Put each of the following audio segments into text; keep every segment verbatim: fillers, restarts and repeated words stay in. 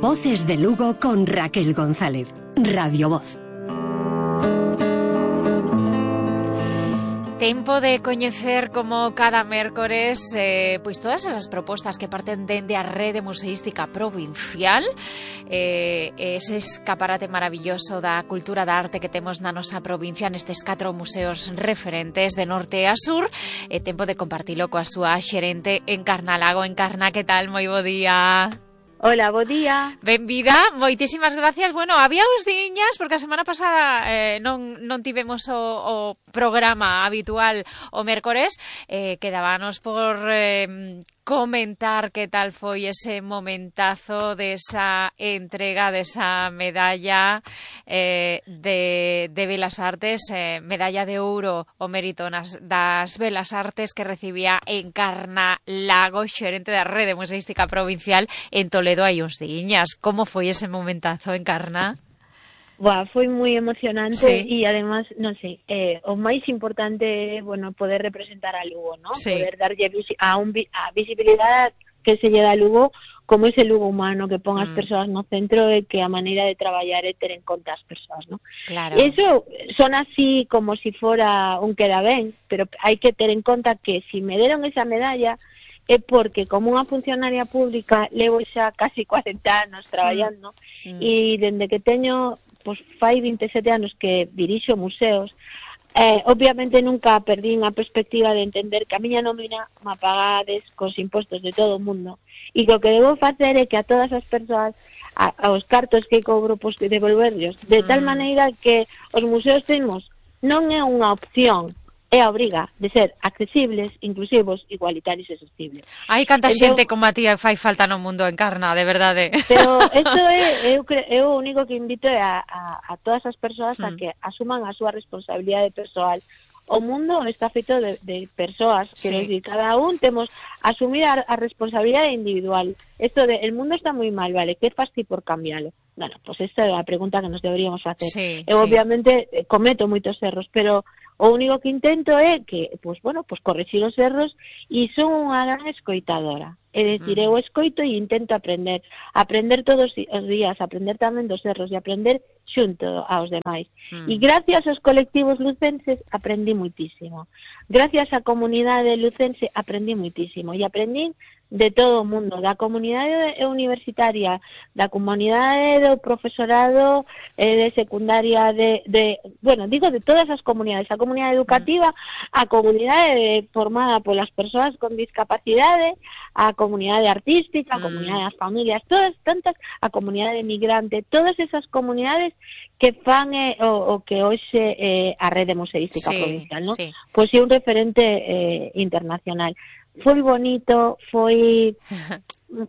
Voces de Lugo con Raquel González. Radio Voz. Tempo de coñecer como cada mércores eh, pois todas esas propostas que parten dende a Rede Museística Provincial, eh, ese escaparate maravilloso da cultura da arte que temos na nosa provincia nestes catro museos referentes de norte a sur. É tempo de compartilo coa súa xerente Encarna Lago. Encarna, que tal? Moi bo día. Hola, bo día. Benvida, moitísimas gracias. Bueno, había uns diñas, porque a semana pasada eh, non, non tivemos o, o programa habitual o mércores, eh, quedábanos por eh, comentar que tal foi ese momentazo desa entrega desa medalla eh, de, de Belas Artes, eh, medalla de ouro o mérito nas, das Belas Artes que recibía Encarna Lago, xerente da Rede Museística Provincial en Toledo hai uns diñas. Como foi ese momentazo, Encarna? Buah, foi moi emocionante, sí. E además, non sei, eh, o máis importante é, bueno, poder representar a Lugo, ¿no? Sí. Poder darlle visi a, un, a visibilidade que se lle dá a Lugo como ese Lugo humano que pon as mm. persoas no centro e que a maneira de traballar é ter en conta as persoas, ¿no? Claro. Eso son así como si fora un queda ben, pero hai que ter en conta que si me deron esa medalla é porque como unha funcionaria pública levo xa casi cuarenta anos traballando sí. Sí. e dende que teño pois fai vinte e sete anos que dirixo museos, eh, obviamente nunca perdín a perspectiva de entender que a miña nómina me pagades cos impostos de todo o mundo e que o que debo facer é que a todas as persoas a, aos cartos que cobro pois devolverlos de tal mm. maneira que os museos temos non é unha opción, é a obriga de ser accesibles, inclusivos, igualitarios e sostenibles. Hai canta entón, xente como a ti fai falta no mundo, Encarna, de verdade. Pero isto é, eu, eu o único que invito é a, a, a todas as persoas mm. a que asuman a súa responsabilidade persoal. O mundo está feito de, de persoas, que sí. decir, cada un temos asumir a, a responsabilidade individual. Isto de, el mundo está moi mal, vale, que faz ti por cambiálo? Bueno, pues esta é a pregunta que nos deberíamos facer. Sí, eu sí. obviamente cometo moitos erros, pero o único que intento é que, pues bueno, pues corrixir os erros e son unha gran escoitadora. É dicir, eu escoito e intento aprender. Aprender todos os días, aprender tamén dos erros e aprender xunto aos demais. Mm. E gracias aos colectivos lucenses aprendí muitísimo. Gracias á comunidade lucense aprendí muitísimo. E aprendí de todo o mundo, da comunidade universitaria, da comunidade do profesorado eh, de secundaria, de, de, bueno, digo de todas as comunidades, a comunidade educativa, a comunidade formada polas persoas con discapacidade, a comunidade artística, a comunidade das familias, todas tantas, a comunidade migrante, todas esas comunidades que fan eh, o, o que hoxe eh, a Rede Museística sí, Provincial, ¿no? Sí. Pois é un referente eh, internacional. Foi bonito, foi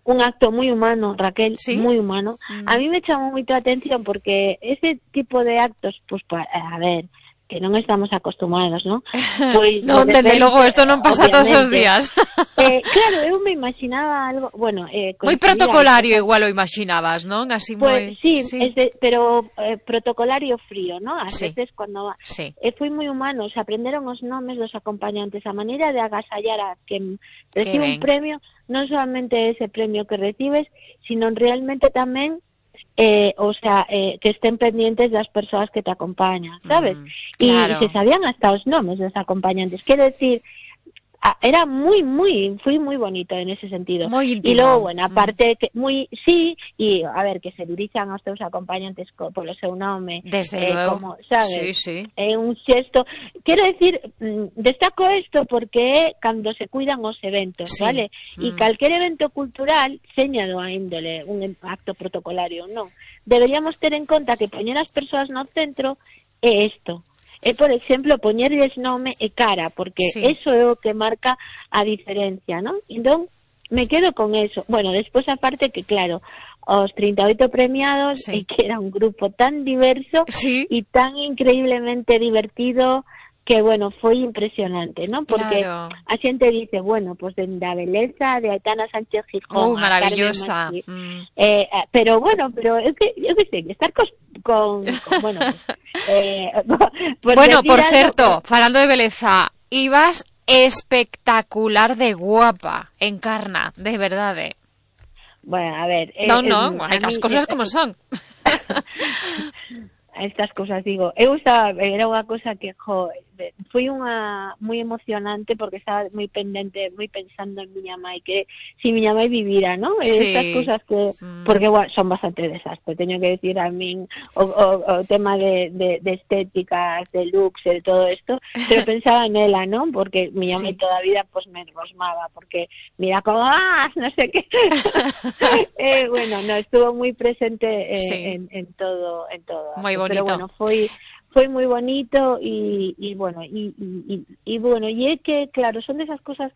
un acto moi humano, Raquel, ¿Sí? moi humano. Mm. A mí me chamou moito a atención porque ese tipo de actos, pues, a ver, que non estamos acostumados, ¿no? Pois, non, de dende logo, isto non pasa todos os días. Eh, claro, eu me imaginaba algo, bueno... Eh, moi protocolario algo, igual o imaginabas, non? Así moi... Pues, sí, sí. Es de, pero eh, protocolario frío, ¿no? A sí. veces cuando... Sí. Eh, foi moi humano, se aprenderon os nomes dos acompañantes, a maneira de agasallar a quen recibe un premio, non solamente ese premio que recibes, sino realmente tamén Eh, o sea, eh, que estén pendientes das persoas que te acompañan, ¿sabes? Mm, claro. Y se sabían hasta os nomes dos acompañantes. Quero decir, era moi, moi, foi moi bonito en ese sentido. Moi íntimo. E logo, bueno, aparte, que moi, sí, e a ver, que se dirixan aos teus acompañantes co, polo seu nome. Desde eh, luego. Como, sabes? Sí, sí. É eh, un xesto. Quero decir, destaco isto porque é cando se cuidan os eventos, sí. Vale? E mm. calquer evento cultural, señado a índole, un acto protocolario, non. Deberíamos ter en conta que poñer as persoas no centro é isto. É, por exemplo, poñerles nome e cara, porque sí. Eso é o que marca a diferencia, ¿no? Entón, me quedo con eso. Bueno, despois aparte que, claro, os trinta e oito premiados, sí. E que era un grupo tan diverso sí. E tan increíblemente divertido, que, bueno, foi impresionante, ¿no? Porque claro. A xente dice, bueno, pues dende a beleza de Aitana Sánchez Gijón, oh, maravillosa. Machí, mm. eh, pero bueno, pero eu que, eu que sei, estar cos, con, con, bueno, eh, pues bueno, por certo, algo, falando de beleza, ibas espectacular de guapa, Encarna, de verdade. Bueno, a ver... Eh, no, no, eh, hai as mí, cosas eh, como son. Estas cosas, digo, eu estaba, era unha cosa que, jo, foi unha moi emocionante porque estaba moi pendente, moi pensando en miña mãe, que si miña mãe vivira, ¿no? Sí. Estas cosas que, mm. porque bueno, son bastante desastre, teño que decir a min o, o, o tema de, de, de estéticas, de looks, de todo esto, pero pensaba en ela, ¿no? Porque miña mãe Sí. toda a vida pues me rosmaba, porque mira como, ah, no sé qué. eh, bueno, no, estuvo muy presente eh, Sí. en, en todo, en todo. Moi bonito. Pero bueno, foi foi moi bonito y, y bueno, y, y, y bueno, y é que, claro, son desas cosas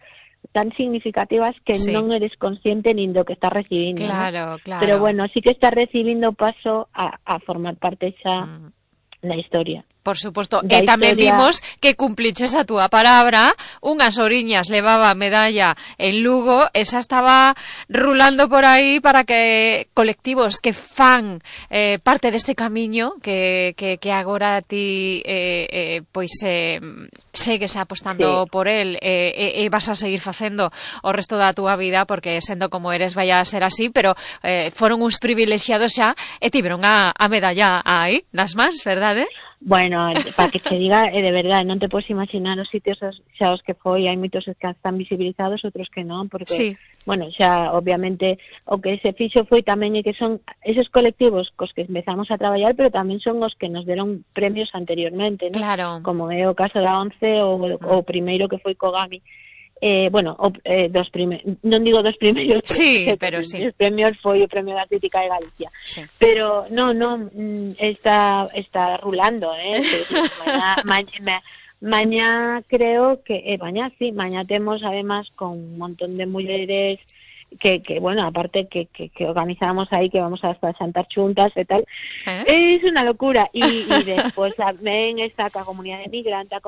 tan significativas que sí. non eres consciente nin do que estás recibindo, claro, ¿no? claro. Pero bueno, sí que estás recibindo paso a, a formar parte xa mm. da historia. Por suposto, e Da tamén historia... vimos que cumpliches a túa palabra, unhas oriñas levaba a medalla en Lugo, esa estaba rulando por aí para que colectivos que fan eh, parte deste camiño que, que, que agora ti eh, eh, pois eh, segues apostando sí. por el e eh, eh, vas a seguir facendo o resto da túa vida, porque sendo como eres vai a ser así, pero eh, foron uns privilexiados xa e tiveron a, a medalla aí nas mans, verdade? Bueno, para que te diga, eh, de verdade, non te podes imaginar os sitios xa os que foi, hai moitos que están visibilizados, outros que non, porque, sí. bueno, xa, obviamente, o que se fixo foi tamén e que son esos colectivos cos que empezamos a traballar, pero tamén son os que nos deron premios anteriormente, ¿no? Claro. Como é o caso da ONCE ou o primeiro que foi Kogami. Eh, bueno, o, eh, dos primeiros, non digo dos primeiros, sí, pero sí. Os premios foi o Premio da Crítica de Galicia. Sí. Pero no, no, está está rulando, eh. mañá, mañá, mañá creo que eh, mañá sí, mañá temos además con un montón de mulleres que, que bueno, aparte que, que, que organizamos aí que vamos a xantar xuntas e tal, ¿Eh? Es una locura. Y, y despois tamén está a comunidade migrante,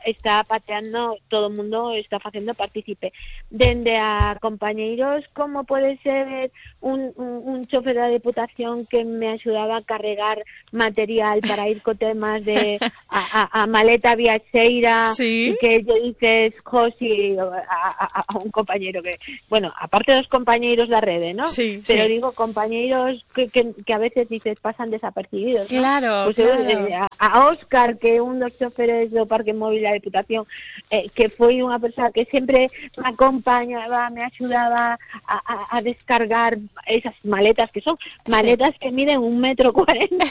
está pateando, todo o mundo está facendo partícipe, dende a compañeiros como pode ser un, un, un chofer da Deputación que me axudaba a carregar material para ir co temas de a, a, a maleta viaxeira, sí. Y que lle dices, Josi, a, a, a un compañeiro que, bueno, aparte dos compañeiros da rede, ¿no? Sí, pero sí. digo compañeiros que, que, que a veces dices pasan desapercibidos, ¿no? Claro, pues claro. Eu, eh, a Óscar, que é un dos choferes do Parque Móvil da Deputación, eh, que foi unha persoa que sempre me acompañaba, me axudaba a, a, a descargar esas maletas, que son maletas sí. que miden un metro cuarenta.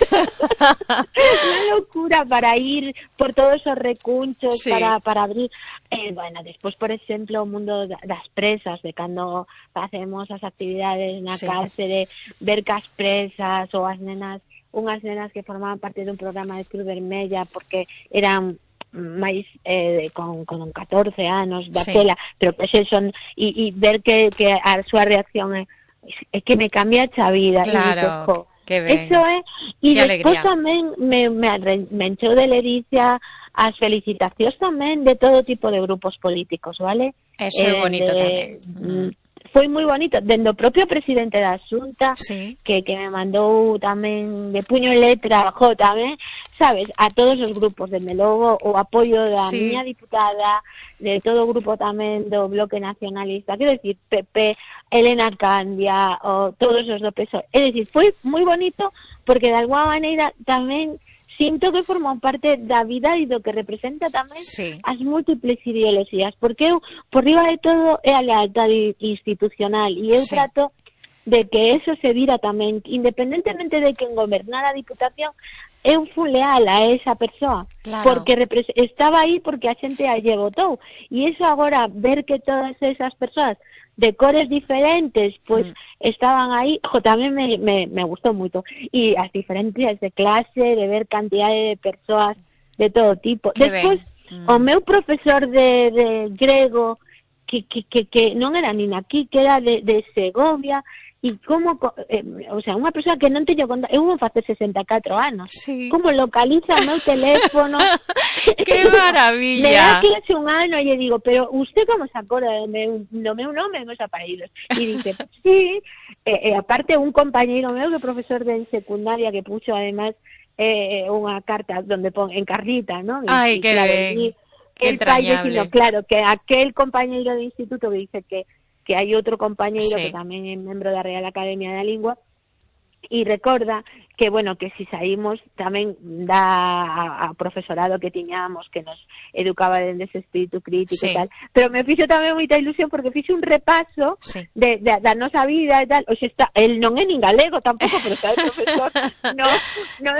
Unha locura para ir por todos os recunchos, sí. para, para abrir. Eh, bueno, despois, por exemplo, o mundo das presas, de cando facemos as actividades na sí. cárcere, ver que as presas ou as nenas, unhas nenas que formaban parte dun programa de Cruz Vermella porque eran máis eh, con, con catorce anos daquela, sí. pero que se son e, e ver que, que a súa reacción é, é que me cambia a vida. Claro, e dices, que ben. Eso é, e despois alegría. tamén me, me, me encheu de ledicia as felicitacións tamén de todo tipo de grupos políticos, vale? Eso é eh, bonito de, tamén. Mm. Foi moi bonito, dende o propio presidente da Xunta, sí. que, que me mandou tamén de puño e letra, jo, tamén, sabes, a todos os grupos, dende logo o apoio da sí. miña diputada, de todo o grupo tamén do Bloque Nacionalista, quero dicir, P P, Elena Candia, o todos os do P S O E. É dicir, foi moi bonito, porque de alguma maneira tamén sinto que forman parte da vida e do que representa tamén sí. as múltiples ideoloxías, porque eu, por riba de todo, é a lealtade institucional, e eu sí. trato de que eso se vira tamén, independentemente de quen gobernara a Diputación, eu fui leal a esa persoa, claro. porque estaba aí porque a xente a lle votou, e eso agora, ver que todas esas persoas de cores diferentes, pues mm. estaban aí, jo, tamén me, me, me gustou moito, e as diferencias de clase, de ver cantidade de persoas de todo tipo. Que Despois, mm. o meu profesor de, de grego, que, que, que, que non era nin aquí, que era de, de Segovia, e como, eh, o sea, unha persoa que non teño conta, eu vou facer sesenta e catro anos, sí. como localiza o meu teléfono. ¡Qué maravilla! Me dá clase un ano e lle digo, pero usted como se acorda do meu, do meu nome e meus aparaídos? E dice, pues, sí, e, e aparte un compañeiro meu que é profesor de secundaria que puxo además eh, unha carta donde pon en carrita, ¿no? Ai, y, que claro, ben, y, que el pai entrañable. Dicindo, claro, que aquel compañeiro de instituto que dice que que hai outro compañeiro sí. que tamén é membro da Real Academia da Lingua, e recorda que, bueno, que si saímos tamén da a, a profesorado que tiñamos, que nos educaba dende ese espírito crítico sí. e tal, pero me fixo tamén moita ilusión porque fixo un repaso sí. de, de, da nosa vida e tal. Oxe, está, el non é nin galego tampouco, pero está el profesor no, no,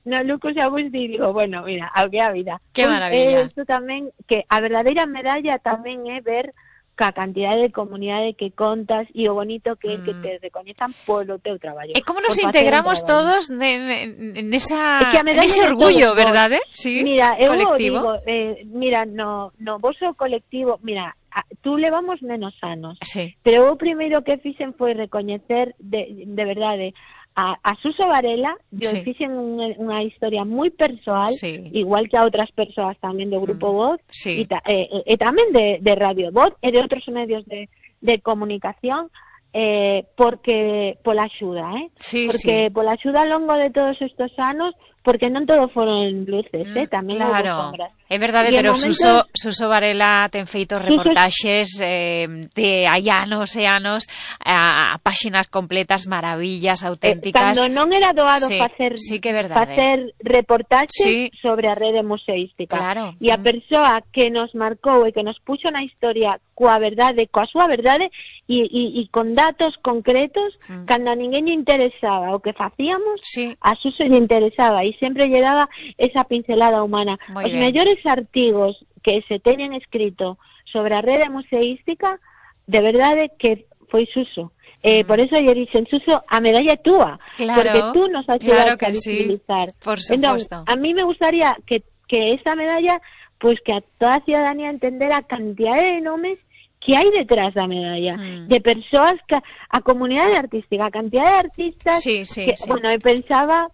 no Lucas Agustí, digo, bueno, mira, ao que a vida. Que maravilla. Eh, isto tamén, que a verdadeira medalla tamén é ver ca cantidade de comunidade que contas e o bonito que é mm. que te recoñezan polo teu traballo. E como nos integramos todos nesa, es que nese orgullo, verdade? Sí, mira, eu colectivo. digo, eh, mira, no, no voso colectivo, mira, a, tú levamos menos anos, sí. pero o primeiro que fixen foi recoñecer de, de verdade a, a Suso Varela, yo sí. fixen unha, unha historia moi persoal, sí. igual que a outras persoas tamén do Grupo Voz, sí. e, ta, e, e tamén de, de Radio Voz e de outros medios de, de comunicación, eh, porque pola axuda, eh? Sí, porque sí. pola axuda ao longo de todos estes anos, porque non todo foron luces, eh? tamén claro. houve sombras. É verdade, pero momento... Suso, Suso Varela ten feito reportaxes eh, de hai anos e anos a, a páxinas completas, maravillas auténticas. Eh, cando non era doado sí, facer sí que é verdade. facer reportaxes sí. sobre a rede museística. Claro. E a persoa que nos marcou e que nos puxo na historia coa verdade, coa súa verdade e, e, e con datos concretos, mm. cando a ninguén lle interesaba o que facíamos, sí. a Suso lle interesaba e sempre lle daba esa pincelada humana. Muy Os bien. mellores artigos que se teñen escrito sobre a rede museística, de verdade que foi Suso. Eh, mm. Por eso lle dixen, Suso, a medalla é túa, claro, porque tú nos axudaste claro a visibilizar. Sí, por supuesto. Entón, a mí me gustaría que, que esta medalla, pues que a toda a ciudadanía entendera a cantidade de nomes que hai detrás da medalla, mm. de persoas que a comunidade artística, a cantidade de artistas sí, sí, que, sí. bueno, eu pensaba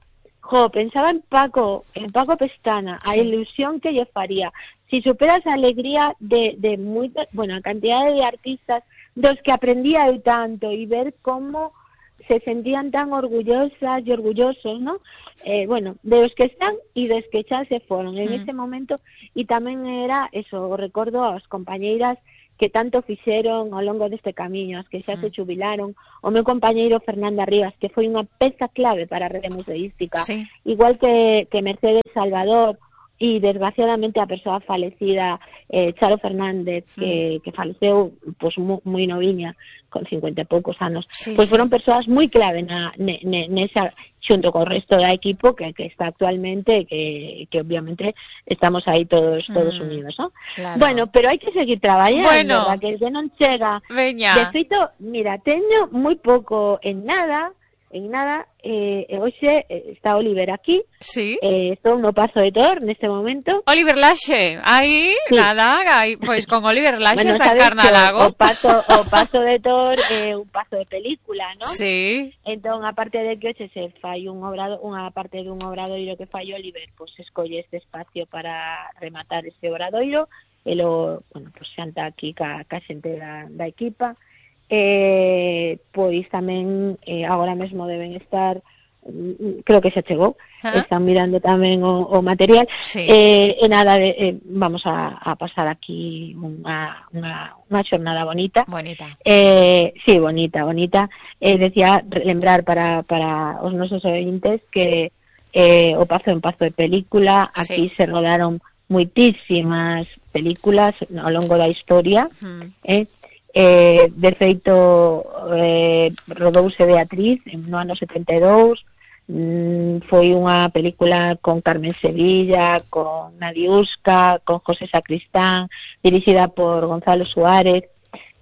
Jo, pensaba en Paco, en Paco Pestana, a sí. ilusión que lle faría. Si superas a alegría de, de moita, bueno, a cantidade de artistas dos que aprendía eu tanto e ver como se sentían tan orgullosas e orgullosos, ¿no? Eh, bueno, de los que están e dos que xa se foron mm. en ese momento, e tamén era eso, o recordo aos compañeiras que tanto fixeron ao longo deste camiño, as que xa mm. se jubilaron, o meu compañeiro Fernanda Rivas, que foi unha peza clave para a rede museística, sí. igual que, que Mercedes Salvador, e desgraciadamente a persoa falecida eh, Charo Fernández, mm. que, que faleceu pues, moi, moi noviña, con cincuenta e poucos anos, sí, pois sí. foron persoas moi clave na, ne, ne, nesa, xunto co resto da equipo que, que está actualmente, que, que obviamente estamos aí todos todos mm, unidos, ¿no? Claro. Bueno, pero hai que seguir traballando, bueno, que que non chega. Veña. De feito, mira, teño moi pouco en nada, en nada, eh, hoxe está Oliver aquí, sí. eh, estou no Pazo de Tor neste momento. Oliver Laxe, aí, sí. nada, aí, pois con Oliver Laxe bueno, está en Carnalago. O Pazo, o Pazo de Tor é eh, un pazo de película, ¿no? Sí. Entón, aparte de que hoxe se fai un obrado, unha parte dun obradoiro que fai Oliver, pois pues, escolle este espacio para rematar ese obradoiro, e lo, bueno, pois pues, xanta aquí ca, ca xente da, da equipa. Eh, pois tamén eh, agora mesmo deben estar, creo que xa chegou, ¿ah? Están mirando tamén o, o material, sí. eh, e nada, de, eh, vamos a, a pasar aquí unha, unha, unha xornada bonita. Bonita. Eh, sí, bonita, bonita. Eh, decía, lembrar para, para os nosos ointes que eh, o Pazo é un pazo de película, aquí sí. se rodaron moitísimas películas ao longo da historia, uh-huh. eh, Eh, de feito eh, rodouse Beatriz no ano setenta e dous, mm, foi unha película con Carmen Sevilla, con Nadiuska, con José Sacristán, dirixida por Gonzalo Suárez.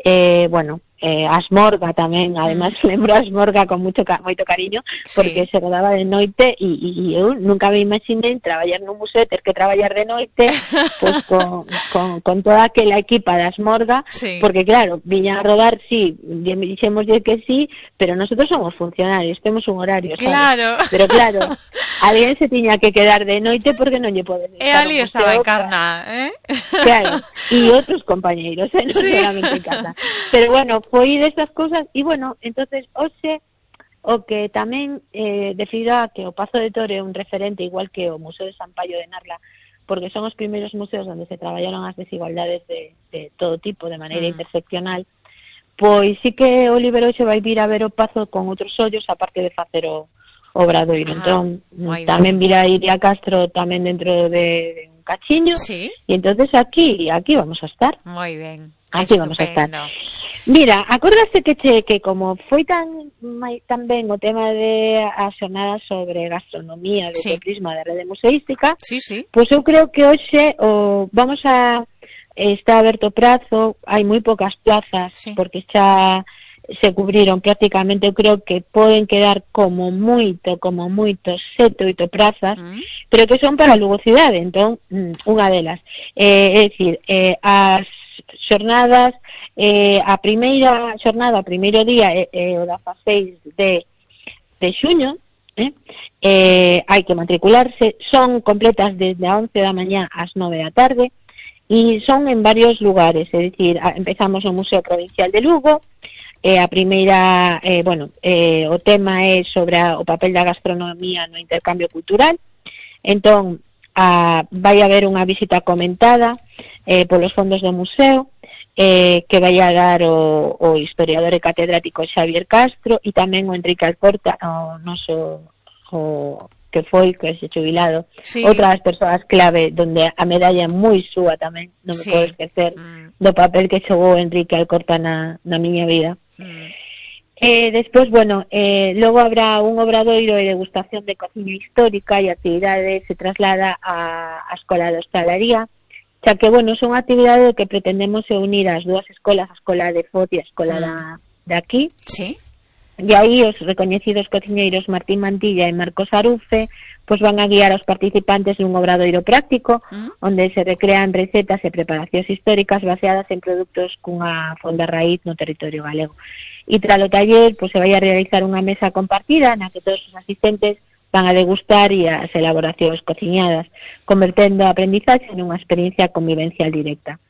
Eh, bueno, eh, Asmorga tamén, además mm. lembro a Asmorga con mucho moito cariño, porque sí. se rodaba de noite e, e eu nunca me imaginei traballar nun museo, ter que traballar de noite pues, con, con, con toda aquela equipa de Asmorga, sí. porque claro, viña a rodar, sí, dixémoslle que sí, pero nosotros somos funcionarios, temos un horario, ¿sabes? Claro. Pero claro, alguén se tiña que quedar de noite porque non lle podes e ali estaba en Carna, eh? Claro, e outros compañeiros, eh? non sí. solamente en Carna. Pero bueno, foi destas cousas, e bueno, entonces hoxe o que tamén eh, debido a que o Pazo de Tor é un referente igual que o Museo de San Paio de Narla, porque son os primeiros museos onde se traballaron as desigualdades de, de todo tipo, de maneira mm. interseccional, pois sí que Oliver hoxe vai vir a ver o Pazo con outros ollos, aparte de facer o Obradoiro. Ah, entón, tamén virá Iria Castro tamén dentro de, de un cachiño. Sí. E entonces aquí, aquí vamos a estar. Moi ben. Aquí vamos a estar. Mira, acordaste que che, que como foi tan tan ben o tema de as xornadas sobre gastronomía de sí. Prisma de Rede Museística, sí, sí. Pois eu creo que hoxe o vamos a está aberto prazo, hai moi poucas plazas, sí. Porque xa se cubriron prácticamente, eu creo que poden quedar como moito, como moito, sete, oito prazas, mm. pero que son para Lugo cidade, entón, unha delas. Eh, é dicir, eh, as xornadas, eh, a primeira xornada, o primeiro día, é eh, eh, o dezaseis de, de xuño, eh, eh, hai que matricularse, son completas desde a once da mañá ás nove da tarde, e son en varios lugares, é dicir, empezamos no Museo Provincial de Lugo. Eh, a primeira, eh, bueno, eh, o tema é sobre a, o papel da gastronomía no intercambio cultural. Entón, a, vai haber unha visita comentada eh, polos fondos do museo, eh, que vai a dar o, o historiador e catedrático Xavier Castro e tamén o Enrique Alcorta, o noso o, que foi, que se xubilado, sí. Outra das persoas clave, donde a medalla é moi súa tamén, non me sí. podo esquecer mm. do papel que xogou Enrique Alcorta na, na miña vida. Mm. Eh, despois, bueno, eh, logo habrá un obradoiro e degustación de cociña histórica e a actividade se traslada a, a Escola de Hostalaría, xa que, bueno, son actividades que pretendemos unir as dúas escolas, a Escola de Fot e a Escola mm. da, de aquí. Sí. E aí os recoñecidos cociñeiros Martín Mantilla e Marcos Arufe pois van a guiar aos participantes nun obradoiro práctico mm. onde se recrean recetas e preparacións históricas baseadas en produtos cunha fonda raíz no territorio galego. E tras o taller pois se vai a realizar unha mesa compartida na que todos os asistentes van a degustar e as elaboracións cociñadas, convertendo a aprendizaxe nunha experiencia convivencial directa.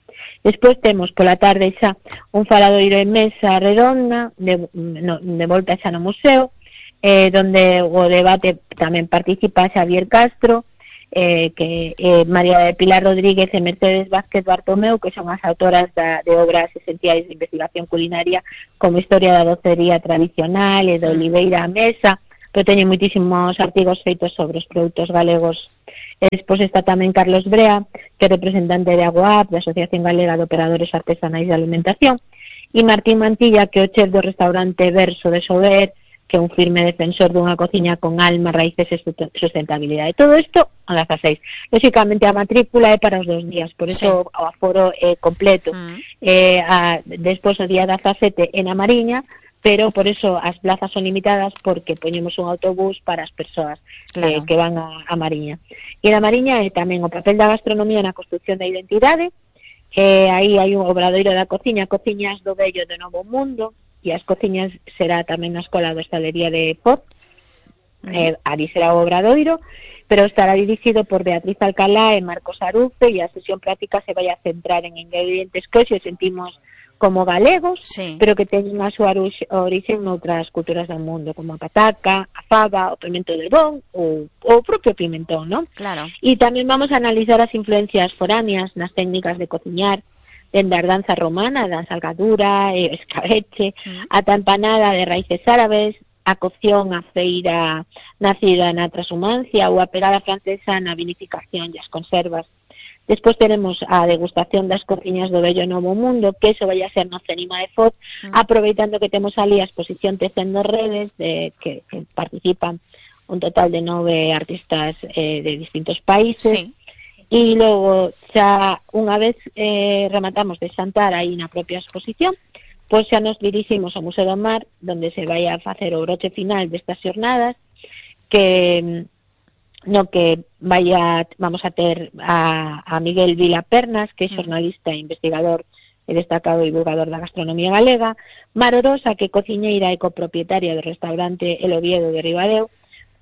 Despois temos pola tarde xa un faladoiro en mesa redonda de, no, de volta xa no museo, eh, donde o debate tamén participa Xavier Castro, eh, que eh, María de Pilar Rodríguez e Mercedes Vázquez Bartomeu, que son as autoras da, de obras esenciais de investigación culinaria como Historia da docería tradicional e de Oliveira a mesa, pero teñen moitísimos artigos feitos sobre os produtos galegos. E despois está tamén Carlos Brea, que é representante de Aguap, da Asociación Galega de Operadores Artesanais de Alimentación, e Martín Mantilla, que é o chef do restaurante Verso de Sober, que é un firme defensor dunha cociña con alma, raíces e sustentabilidade. Todo isto a dezaseis. Lóxicamente a matrícula é para os dos días, por iso sí. O aforo é completo. Mm. Eh, a, despois o día dezasete en a Mariña, pero por eso as plazas son limitadas porque poñemos un autobús para as persoas claro. eh, que van a, a Mariña. E na Mariña é tamén o papel da gastronomía na construcción da identidade, eh, aí hai un obradoiro da cociña, Cociñas do Vello do Novo Mundo, e as cociñas será tamén na Escola de Hostalería de Fot, uh-huh. eh, ali será o obradoiro, pero estará dirixido por Beatriz Alcalá e Marcos Arufe, e a sesión práctica se vai a centrar en ingredientes que hoxe sentimos como galegos, sí. pero que teñen a súa orixe noutras culturas do mundo, como a pataca, a fava, o pimento de bon, ou o propio pimentón, non? Claro. E tamén vamos a analizar as influencias foráneas nas técnicas de cociñar, dende a danza romana, da salgadura, e escabeche, mm. a tampanada de raíces árabes, a cocción, a feira nacida na transhumancia, ou a pegada francesa na vinificación e as conservas. Despois teremos a degustación das cociñas do Vello Novo Mundo, que eso vai a ser no Cenima de Fot, mm. aproveitando que temos ali a exposición Tecendo Redes, de, que, que participan un total de nove artistas eh, de distintos países. Sí. E logo, xa unha vez eh, rematamos de xantar aí na propia exposición, pois xa nos diriximos ao Museo do Mar, donde se vai a facer o broche final destas xornadas, que no que vai a, vamos a ter a, a Miguel Vila Pernas, que é xornalista e investigador e destacado divulgador da gastronomía galega, Mar Orosa, que é cociñeira e copropietaria do restaurante El Oviedo de Ribadeo,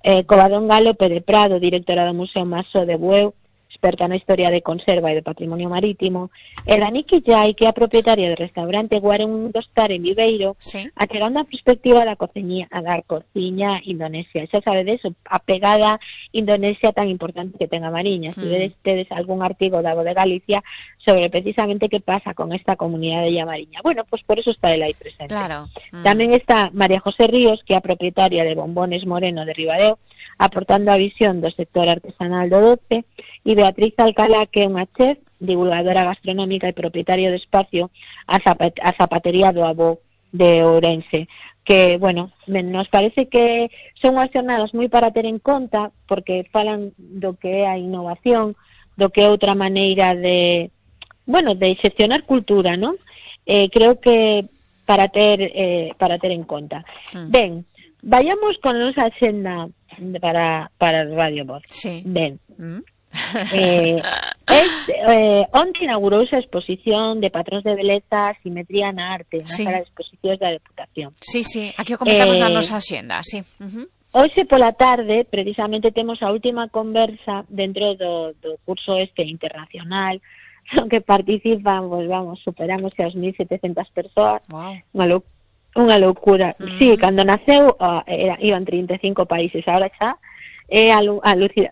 eh, Covadonga López de Prado, directora do Museo Maso de Bueu, experta na historia de conserva e de patrimonio marítimo, e Dani Quillai, que é a propietaria do restaurante Guarun do Star en Viveiro, sí. achegando a perspectiva da cociña, da cociña indonesia. Xa sabedes, a pegada Indonesia tan importante que ten a Mariña. Mm. Se vedes tedes algún artigo da Voz de Galicia sobre precisamente que pasa con esta comunidade de Mariña. Bueno, pues por eso está el aí presente. Claro. Mm. Tamén está María José Ríos, que é a propietaria de Bombones Moreno de Ribadeo, aportando a visión do sector artesanal do doce, e Beatriz Alcalá, que é unha chef, divulgadora gastronómica e propietario de espacio a, zapat a Zapatería do Avó de Ourense, que, bueno, nos parece que son unhas jornadas moi para ter en conta, porque falan do que é a innovación, do que é outra maneira de, bueno, de xestionar cultura, non? Eh, creo que para ter eh, para ter en conta. Mm. Ben, vayamos con a nosa axenda para, para Radio Voz. Sí. Ben. Mm. eh, es, eh, onde inaugurouse a exposición de patróns de beleza Simetría na arte na sí. sala de exposicións da Deputación. Sí, sí, aquí o comentamos eh, na nosa axenda, sí. Uh-huh. Hoxe pola tarde, precisamente, temos a última conversa dentro do, do curso este internacional, no que participan, pues vamos, superamos as mil setecentas persoas. Wow. Unha lou unha loucura. Uh-huh. Sí, cando naceu uh, era, iban trinta e cinco países, agora xa é a, a lucida.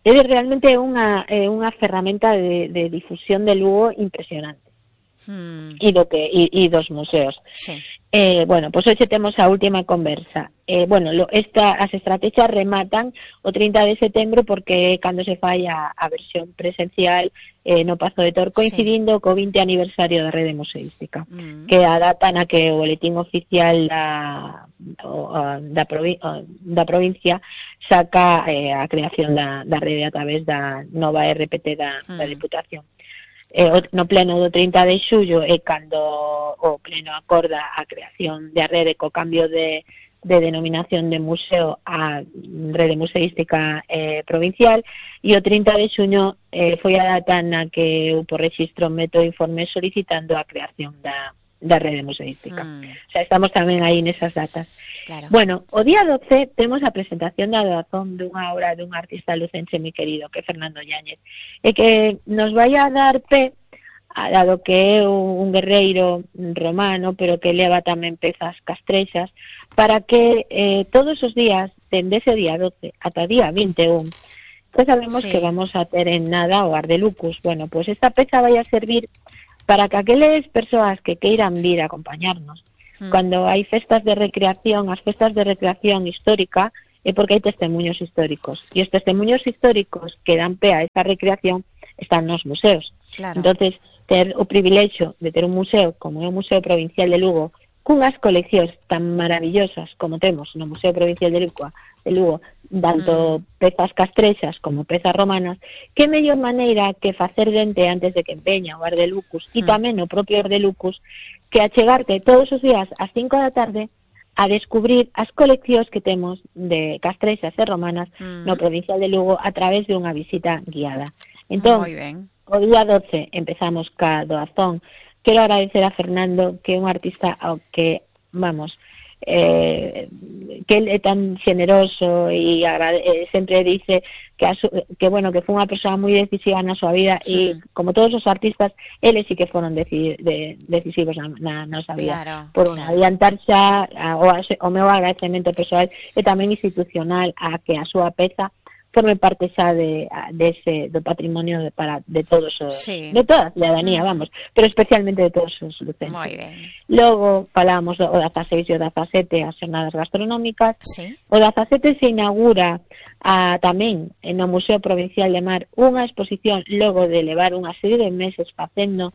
É realmente unha é unha ferramenta de, de difusión de Lugo impresionante. Hmm. E do que e, e dos museos. Sí. Eh, bueno, pois pues hoxe temos a última conversa. Eh, bueno, lo, esta, as estrategias rematan o trinta de setembro porque cando se fai a, a versión presencial eh, no Pazo de Tor, coincidindo sí. co vinte aniversario da Rede Museística, mm. que é a data na que o boletín oficial da, o, da, provi da provincia saca eh, a creación da, da rede a través da nova R P T da, mm. da Deputación. Eh, no pleno do trinta de xullo é cando o pleno acorda a creación da rede co cambio de, de denominación de museo a Rede Museística eh, Provincial, e o trinta de xuño eh, foi a data na que eu por registro meto informe solicitando a creación da, da Rede Museística. Mm. O sea, estamos tamén aí nesas datas. Claro. Bueno, o día doce temos a presentación da doazón dunha obra dun artista lucense moi querido, que é Fernando Yáñez, e que nos vai a dar pé, dado que é un guerreiro romano, pero que leva tamén pezas castrexas, para que eh, todos os días, dende ese día doce ata día vinte e un, pues sabemos sí. que vamos a ter en nada o Ardelucus. Bueno, pues esta peza vai a servir para que aqueles persoas que queiran vir a acompañarnos, mm. cando hai festas de recreación, as festas de recreación histórica, é porque hai testemunhos históricos, e os testemunhos históricos que dan pé a esa recreación están nos museos. Claro. Entonces, ter o privilexio de ter un museo como é o Museo Provincial de Lugo, cunhas coleccións tan maravillosas como temos no Museo Provincial de Lugo, de Lugo tanto mm. pezas castrexas como pezas romanas, que mellor maneira que facer dente antes de que empeña o Ardelucus, mm. e tamén o propio Ardelucus, que achegarte todos os días ás cinco da tarde a descubrir as coleccións que temos de castrexas e romanas mm. no Provincial de Lugo a través de unha visita guiada. Entón, o día doce empezamos ca doazón. Quero agradecer a Fernando, que é un artista ao que, vamos, eh, que ele é tan generoso e eh, sempre dice que, a su, que bueno, que foi unha persoa moi decisiva na súa vida, sí. e como todos os artistas, eles sí que foron deci de, decisivos na, na nosa vida. Claro, por claro. adiantar xa o, o meu agradecemento persoal e tamén institucional a que a súa peza forme parte xa de, de ese, do patrimonio de, para, de todos os, sí. de toda a ciudadanía, vamos, pero especialmente de todos os lucenses. Moi ben. Logo falábamos do dezaseis e o dezasete as xornadas gastronómicas. Sí. O dezasete se inaugura a, tamén no Museo Provincial de Mar unha exposición logo de levar unha serie de meses facendo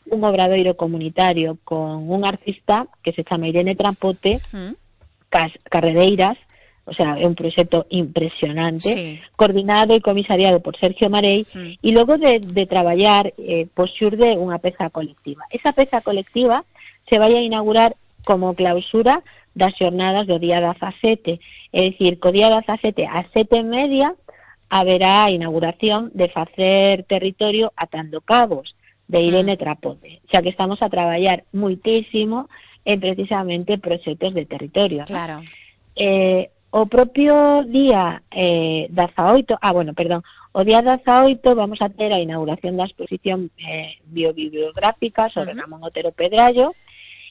un obradoiro comunitario con un artista que se chama Irene Trapote, mm. cas, Carrereiras. O sea, é un proxecto impresionante, sí. coordinado e comisariado por Sergio Marei, sí. e logo de, de traballar, eh, pois xurde unha peza colectiva. Esa peza colectiva se vai a inaugurar como clausura das xornadas do día dezasete, é dicir, co día dezasete ás sete e media haberá a inauguración de Facer Territorio atando cabos, de Irene mm. Trapote, xa que estamos a traballar muitísimo en precisamente proxectos de territorio. Claro. Eh, O propio día eh, dezaoito, ah, bueno, perdón, O día dezaoito vamos a ter a inauguración da exposición eh, biobibliográfica sobre uh-huh. Ramón Otero Pedrallo,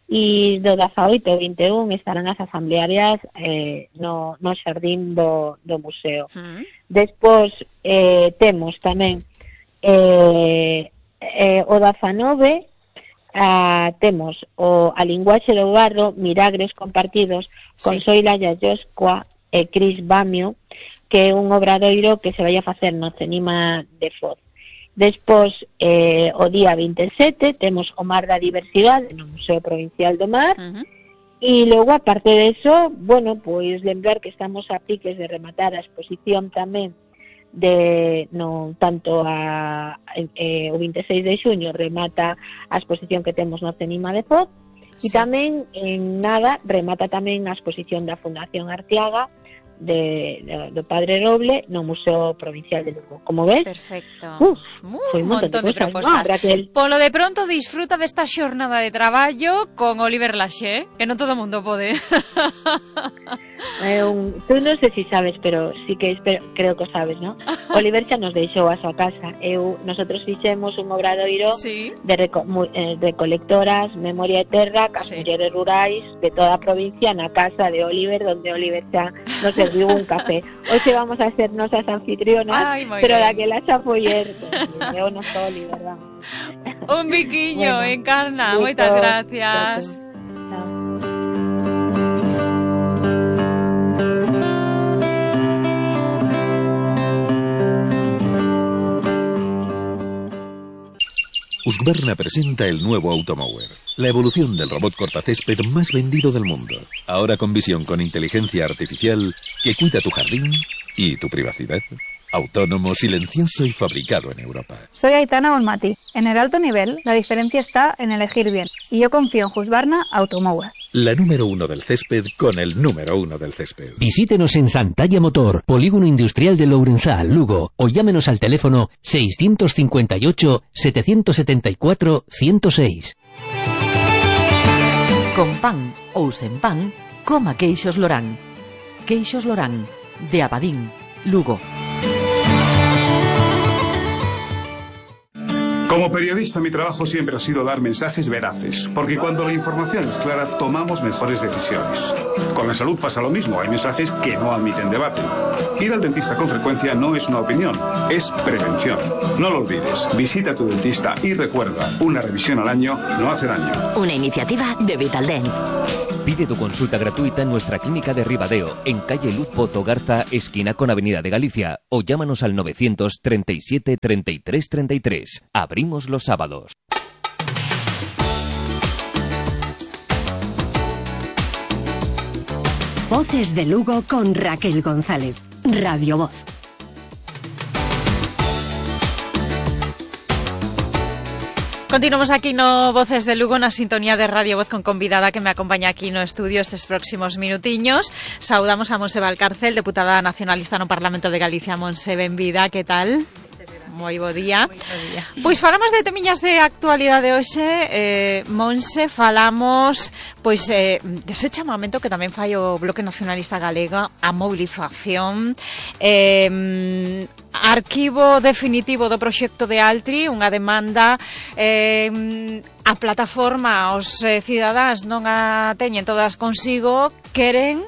e do dezaoito ao vinte e un estarán as asamblearias eh, no, no xardín do, do museo. Uh-huh. Despois eh, temos tamén eh, eh, o dezanove ah, temos o A linguaxe do barro, Miragres compartidos con sí. Soila Yayoscoa e Cris Bamio, que é un obradoiro que se vai a facer no Cenima de Foz. Despois, eh, o día vinte e sete, temos o Mar da Diversidade no Museo Provincial do Mar, uh-huh. e logo, aparte de eso, bueno, pois lembrar que estamos a piques de rematar a exposición tamén de, no, tanto a, eh, o vinte e seis de xuño remata a exposición que temos no Cenima de Foz, e sí. tamén, en nada, remata tamén a exposición da Fundación Arteaga, De, de, do Padre Roble no Museo Provincial de Lugo. Como ves? Perfecto. Uf, un montón de, de propostas. No, que... Polo de pronto disfruta desta xornada de traballo con Oliver Laxe, que non todo o mundo pode. Eh, un, tú non sei se si sabes, pero sí que espero, creo que sabes, ¿no? Oliver xa nos deixou a súa casa. Eu, nosotros fixemos un obradoiro sí. de reco, eh, recolectoras, memoria e terra, cas sí. mulleres rurais de toda a provincia na casa de Oliver, donde Oliver xa nos serviu un café. Hoxe vamos a ser nosas anfitrionas, ay, pero bien. Daquela xa foi er, eu non sou Oliver, vamos. Un biquiño, bueno, Encarna, moitas gracias. Husqvarna presenta el nuevo Automower, la evolución del robot cortacésped más vendido del mundo. Ahora con visión con inteligencia artificial que cuida tu jardín y tu privacidad. Autónomo, silencioso y fabricado en Europa. Soy Aitana Bonmati. En el alto nivel, la diferencia está en elegir bien. Y yo confío en Husqvarna Automower. La número uno del césped con el número uno del césped. Visítenos en Santalla Motor, Polígono Industrial de Lourenzal, Lugo, o llámenos al teléfono seiscientos cincuenta y ocho, setecientos setenta y cuatro, ciento seis. Con pan ou sen pan, coma queixos Lorán. Queixos Lorán, de Abadín, Lugo. Como periodista, mi trabajo siempre ha sido dar mensajes veraces, porque cuando la información es clara, tomamos mejores decisiones. Con la salud pasa lo mismo, hay mensajes que no admiten debate. Ir al dentista con frecuencia no es una opinión, es prevención. No lo olvides, visita a tu dentista y recuerda, una revisión al año no hace daño. Una iniciativa de Vitaldent. Pide tu consulta gratuita en nuestra clínica de Ribadeo, en calle Luz Pozo Garza, esquina con Avenida de Galicia, o llámanos al novecientos treinta y siete, treinta y tres, treinta y tres. Abrimos los sábados. Voces de Lugo con Raquel González. Radio Voz. Continuamos aquí no Voces de Lugo na sintonía de Radio Voz con convidada que me acompaña aquí no estudio estes próximos minutiños. Saudamos a Monse Valcárcel, deputada nacionalista no Parlamento de Galicia. Monse, benvida, que tal? Moi bo día. día. Pois falamos de temiñas de actualidade hoxe, eh, Monse, falamos pois eh, dese chamamento que tamén fai o Bloque Nacionalista Galega a mobilización, eh, arquivo definitivo do proxecto de Altri, unha demanda eh, a plataforma, os eh, cidadáns non a teñen todas consigo, queren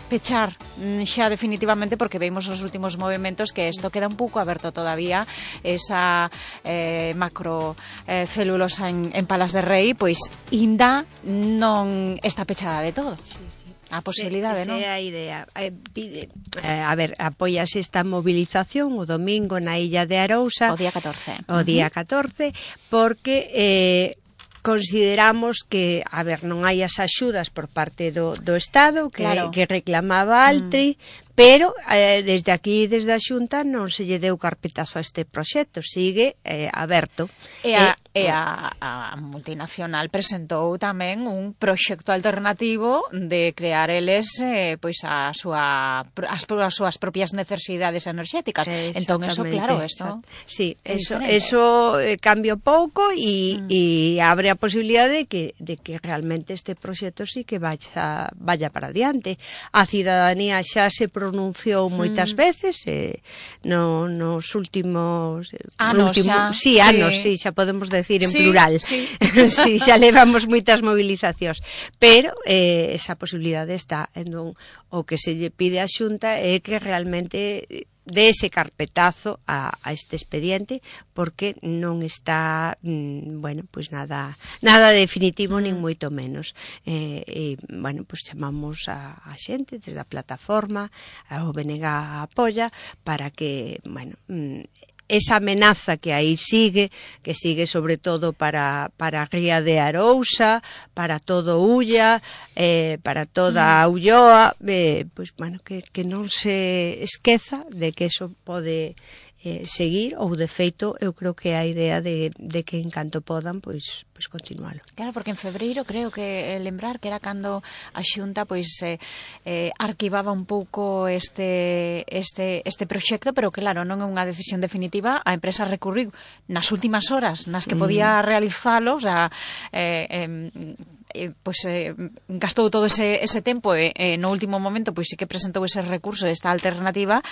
pechar xa definitivamente porque vemos os últimos movimentos que isto queda un pouco aberto todavía, esa eh, macro eh, celulosa en, en Palas de Rei, pois inda non está pechada de todo. Sí, sí. A posibilidade, non? Esa é a idea. Eh, pide, eh, a ver, apoias esta movilización o domingo na Illa de Arousa. O día catorce. O día catorce, porque eh, consideramos que, a ver, non hai as axudas por parte do, do Estado que, claro. que reclamaba Altri, mm. pero eh, desde aquí, desde a Xunta, non se lle deu carpetazo a este proxecto, sigue eh, aberto. E a, e a, a multinacional presentou tamén un proxecto alternativo de crear eles eh, pois a súa, as, as súas propias necesidades enerxéticas. Entón, eso, claro, esto sí, eso, eso eh, cambia pouco e, mm. e abre a posibilidade de que, de que realmente este proxecto sí que vaya, vaya para adiante. A cidadanía xa se pronunciou pronunciou moitas mm. veces eh, no, nos últimos anos, último, xa. Sí, anos, sí. sí, xa podemos decir en sí, plural. Sí. sí, xa levamos moitas movilizacións, pero eh, esa posibilidade está. Entón, o que se lle pide á Xunta é que realmente de ese carpetazo a, a este expediente, porque non está mmm, bueno, pois nada nada definitivo, nin moito menos. Eh, e, bueno, pois chamamos a, a xente desde a plataforma, ao B N G a apoia para que, bueno, mmm, esa amenaza que aí sigue, que sigue sobre todo para, para a ría de Arousa, para todo Ulla, eh, para toda a Ulloa, eh, pois, bueno, que, que non se esqueza de que eso pode eh, seguir, ou de feito eu creo que a idea de, de que en canto podan pois, pois continualo. Claro, porque en febreiro creo que eh, lembrar que era cando a Xunta pois eh, eh, arquivaba un pouco este este este proxecto, pero claro, non é unha decisión definitiva. A empresa recurriu nas últimas horas nas que podía mm. realizalo, o sea, eh, eh, eh, pois eh, gastou todo ese, ese tempo e eh, no último momento pois sí que presentou ese recurso, esta alternativa.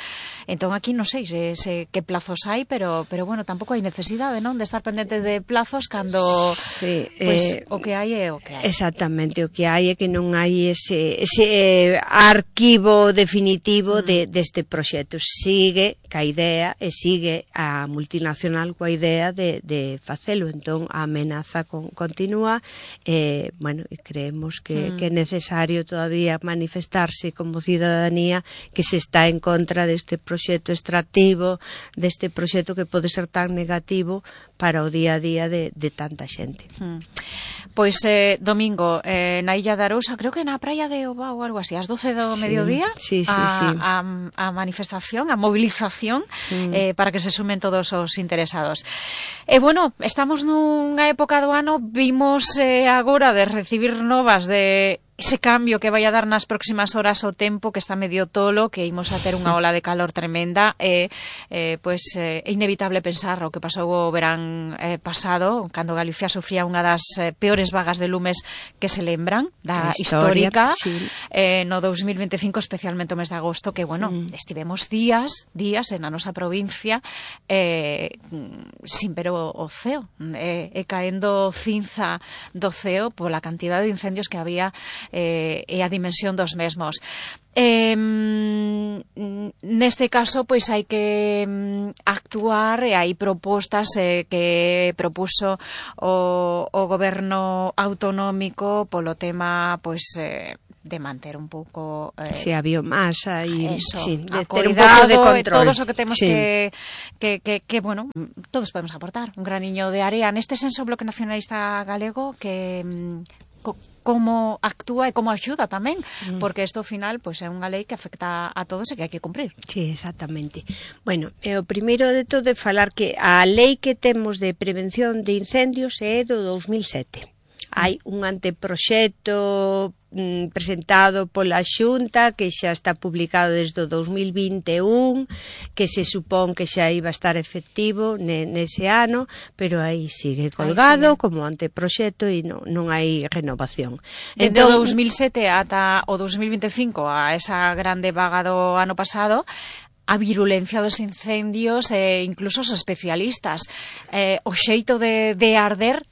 Entón aquí non sei se, se que plazos hai, pero pero bueno, tampouco hai necesidade, non, de estar pendente de plazos cando sí, pois eh, o que hai é o que hai. Exactamente, o que hai é que non hai ese ese eh, arquivo definitivo mm. de deste proxecto. Sigue ca idea e sigue a multinacional coa idea de de facelo, entón a amenaza con, continúa. Eh, bueno, creemos que, mm. que é necesario todavía manifestarse como cidadanía que se está en contra deste proxecto extractivo, deste proxecto que pode ser tan negativo para o día a día de, de tanta xente. Mm. Pois, eh, domingo, eh, na Illa de Arousa, creo que na praia de Oba ou algo así, ás doce do sí, mediodía, sí, sí, a, sí. A, a manifestación, a movilización, mm. eh, para que se sumen todos os interesados. E, eh, bueno, estamos nunha época do ano, vimos eh, agora de recibir novas de ese cambio que vai a dar nas próximas horas o tempo, que está medio tolo, que imos a ter unha ola de calor tremenda, e eh, pois é eh, inevitable pensar o que pasou o verán eh, pasado, cando Galicia sufría unha das eh, peores vagas de lumes que se lembran, da historia, histórica, sí. eh, no dos mil veinticinco, especialmente o mes de agosto, que, bueno, sí. estivemos días, días en a nosa provincia eh, sin ver o, o ceo, e eh, eh, caendo cinza do ceo pola cantidade de incendios que había Eh, e a dimensión dos mesmos. Eh, neste caso, pois hai que actuar e hai propostas eh, que propuso o, o goberno autonómico polo tema, pois, eh, de manter un pouco eh, si, a biomasa e eso, sí, de a ter cuidado, un pouco de control. Todos o que temos sí. que, que, que, que, bueno, todos podemos aportar un graniño de area. Neste senso, o Bloque Nacionalista Galego que co, como actúa e como axuda tamén, mm. porque isto ao final pois é unha lei que afecta a todos e que hai que cumprir. Sí, exactamente. Bueno, eh, o primeiro de todo é falar que a lei que temos de prevención de incendios é do dos mil sete. Hai un anteproxecto mm, presentado pola Xunta que xa está publicado desde o dos mil vinte e un, que se supón que xa iba a estar efectivo ne, nese ano, pero aí sigue colgado aí sigue. Como anteproxecto e non, non hai renovación. Dende entón, o dos mil sete ata o dos mil vinte e cinco, a esa grande vaga do ano pasado, a virulencia dos incendios e incluso os especialistas, eh, o xeito de, de arder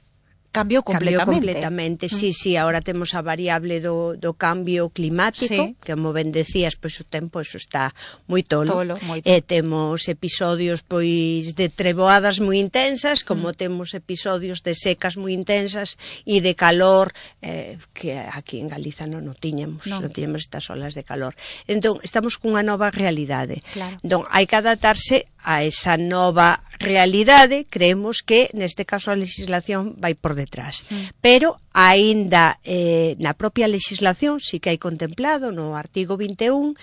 cambiou completamente. Cambiou completamente, sí, sí, agora temos a variable do, do cambio climático, sí. que como ben decías, pois o tempo eso está moi tolo, tolo e temos episodios pois de treboadas moi intensas, como mm. temos episodios de secas moi intensas e de calor, eh, que aquí en Galiza non, non tiñamos, non. non tiñamos estas olas de calor. Entón, estamos cunha nova realidade. Claro. Entón, hai que adaptarse a esa nova realidade. Creemos que neste caso a legislación vai por detrás, mm. pero aínda eh, na propia legislación sí que hai contemplado no artigo vinte e un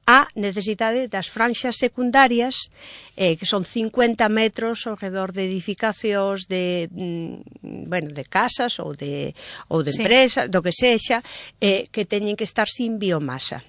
a necesidade das franxas secundarias, eh, que son cincuenta metros ao redor de edificacións de, mm, bueno, de casas ou de, ou de sí. empresas, do que sexa, eh, que teñen que estar sin biomasa.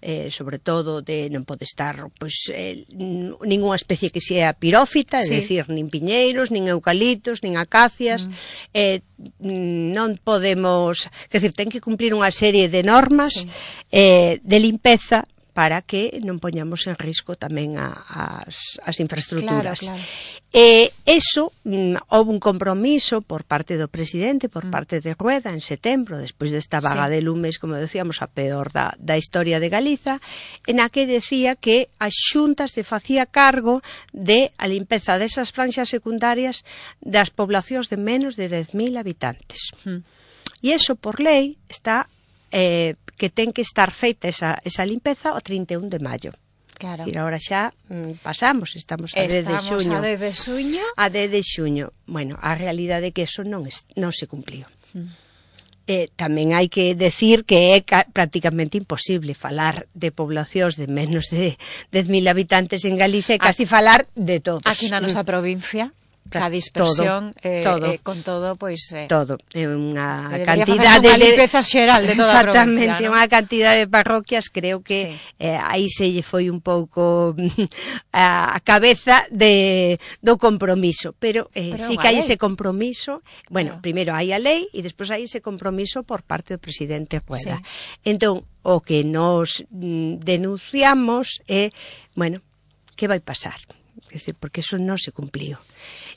Eh, sobre todo de non pode estar pois, eh, ninguna especie que sea pirófita, sí. é dicir, nin piñeiros, nin eucaliptos, nin acacias, mm. eh, non podemos, quer dizer, ten que cumplir unha serie de normas sí. eh, de limpeza para que non poñamos en risco tamén a, as, as infraestructuras. Claro, claro. E iso, mm, houve un compromiso por parte do presidente, por mm. parte de Rueda en setembro, despois desta vaga sí. de lumes, como decíamos, a peor da, da historia de Galiza, en a que decía que a Xunta se facía cargo de a limpeza desas franxas secundarias das poblacións de menos de dez mil habitantes. Mm. E iso, por lei, está... Eh, que ten que estar feita esa, esa limpeza o trinta e un de maio. Claro. E agora xa mm, pasamos, estamos a dez de xuño. Estamos a dez de xuño. A dez de xuño. Bueno, a realidade é que eso non, es, non se cumpliu. Mm. Eh, tamén hai que decir que é ca- prácticamente imposible falar de poblacións de menos de dez mil habitantes en Galicia e casi a, falar de todos. Aquí na nosa provincia. A dispersión todo, eh, todo. Eh, con todo, pois pues, eh, todo, é unha cantidade de limpeza xeral de toda a provincia, exactamente, ¿no? Unha cantidade de parroquias, creo que sí. eh, aí se lle foi un pouco a, a cabeza de do compromiso, pero, eh, pero sí que hai ese compromiso, bueno, claro. Primeiro hai a lei e despois hai ese compromiso por parte do presidente Rueda. Sí. Entón, o que nos mm, denunciamos é, bueno, que vai pasar? É dicir, porque eso non se cumpliu.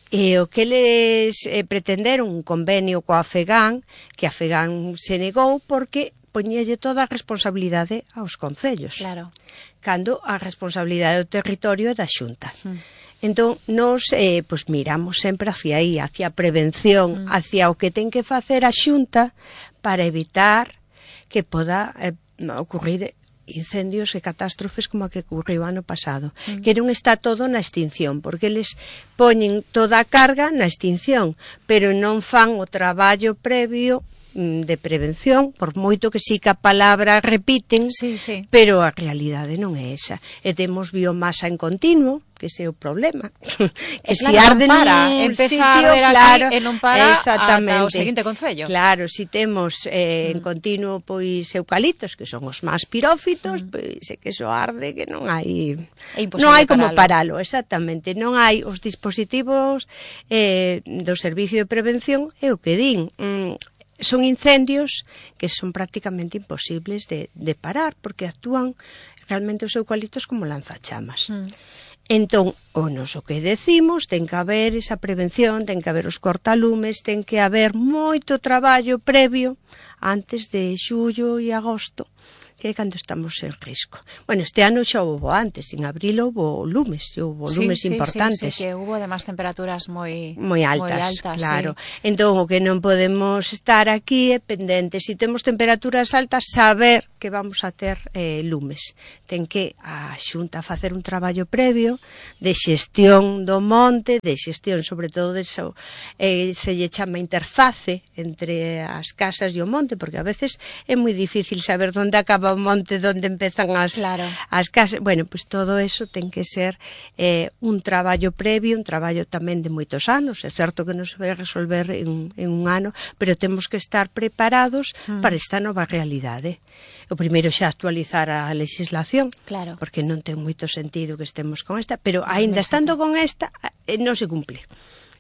E o que eles eh, pretenderon un convenio coa Afegán, que a Afegán se negou porque poñelle toda a responsabilidade aos concellos. Claro. Cando a responsabilidade do territorio é da Xunta. Mm. Entón, nos eh, pues miramos sempre hacia aí, hacia a prevención, mm. hacia o que ten que facer a Xunta para evitar que poda eh, ocurrir incendios e catástrofes como a que ocurriu ano pasado, mm. que non está todo na extinción, porque eles poñen toda a carga na extinción, pero non fan o traballo previo mm, de prevención, por moito que sí que a palabra repiten, sí, sí. pero a realidade non é esa. E temos biomasa en continuo, que ese é o problema. Que es si claro, arde non para, nun empeza sitio, a ver claro, aquí e non para exactamente. ata o seguinte concello. Claro, si temos eh, mm. en continuo pois eucaliptos, que son os máis pirófitos, mm. pois é que eso arde, que non hai non hai como paralo, exactamente. Non hai os dispositivos eh, do servicio de prevención, é o que din. Mm, son incendios que son prácticamente imposibles de, de parar, porque actúan realmente os eucaliptos como lanzachamas. Mm. Entón, o nos o que decimos, ten que haber esa prevención, ten que haber os cortalumes, ten que haber moito traballo previo antes de xullo e agosto, que é cando estamos en risco. Bueno, este ano xa houve antes, en abril houve lumes, houve sí, lumes sí, importantes. Sí, sí, que houve además temperaturas moi moi altas, moi altas claro. Sí. Entón, o que non podemos estar aquí é pendentes. Se si temos temperaturas altas, saber que vamos a ter eh, lumes. Ten que a Xunta facer un traballo previo de xestión do monte, de xestión sobre todo de eso, eh, se lle chama interface entre as casas e o monte, porque a veces é moi difícil saber onde acaba o monte, onde empezan as, claro. as casas. Bueno, pues todo eso ten que ser eh, un traballo previo, un traballo tamén de moitos anos. É certo que non se vai resolver en, en un ano, pero temos que estar preparados mm. para esta nova realidade. O primeiro xa actualizar a legislación, claro. porque non ten moito sentido que estemos con esta, pero aínda estando con esta, eh, non se cumple.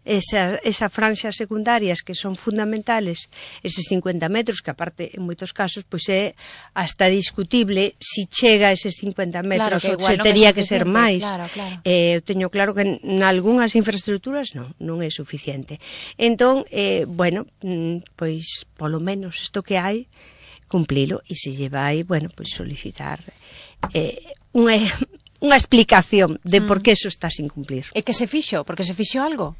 Esa, esa franxas secundarias que son fundamentales, eses cincuenta metros, que aparte en moitos casos pois é hasta discutible si chega a eses cincuenta metros, claro, ou se no tería que, que ser máis. Claro, claro. Eh, teño claro que en algunhas infraestructuras non, non é suficiente. Entón, eh, bueno, pois polo menos isto que hai, cumplilo, e se lle vai, bueno, pois solicitar eh, unha, unha explicación de mm. por que eso está sin cumplir. E que se fixo? Porque se fixo algo?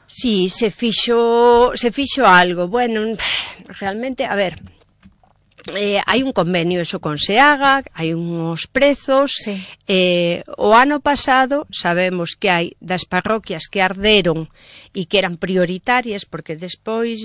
Sí, se fixo, se fixo algo. Bueno, realmente, a ver, eh, hai un convenio eso con Seaga, hai uns prezos. Sí. Eh, o ano pasado sabemos que hai das parroquias que arderon e que eran prioritarias, porque despois